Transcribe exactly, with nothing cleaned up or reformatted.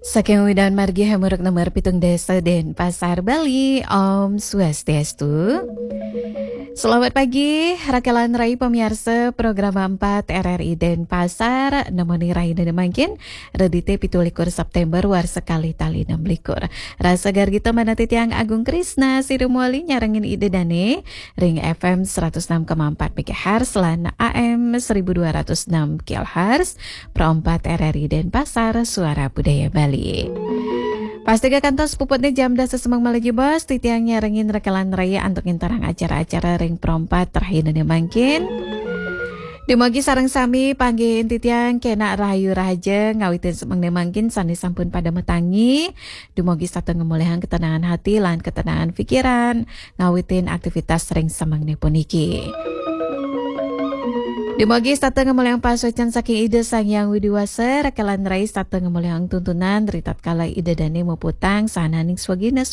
Saking Widan Margi Hamuruk nomor pitung dasa Denpasar, Bali. Om Swastiastu. Selamat pagi, rakelan rai pamiarsa program empat R R I Denpasar, nemoni rahina mangkin, Redite pitu likur September warsa kalih tali enam likur. Rasa gargita manah titiang Agung Krisna, sira mawali nyarengin Ida Dane, ring F M seratus enam koma empat megahertz lan A M seribu dua ratus enam kilohertz, Pro empat R R I Denpasar, Suara Budaya Bali. Pastika kantos puputne jam dasa semeng malih jebos, titiang nyarengin rakelan rai antuk nginterang acara-acara ring Pro empat rahina mangkin. Dumugi sareng sami panggihin titiang kenak rahayu rahaja ngawitin semengne mangkin sane sampun pada matangi. Dumugi setata ngamolihang ketenangan hati lan ketenangan pikiran ngawitin aktivitas ring semengne puniki. Dumugi setata ngamolihang pasuecan saking Ida Sang Hyang Widi Wasa, rakelan rai setata ngamolihang tuntunan ri tatkala Ida Dane muputang sahananing swagina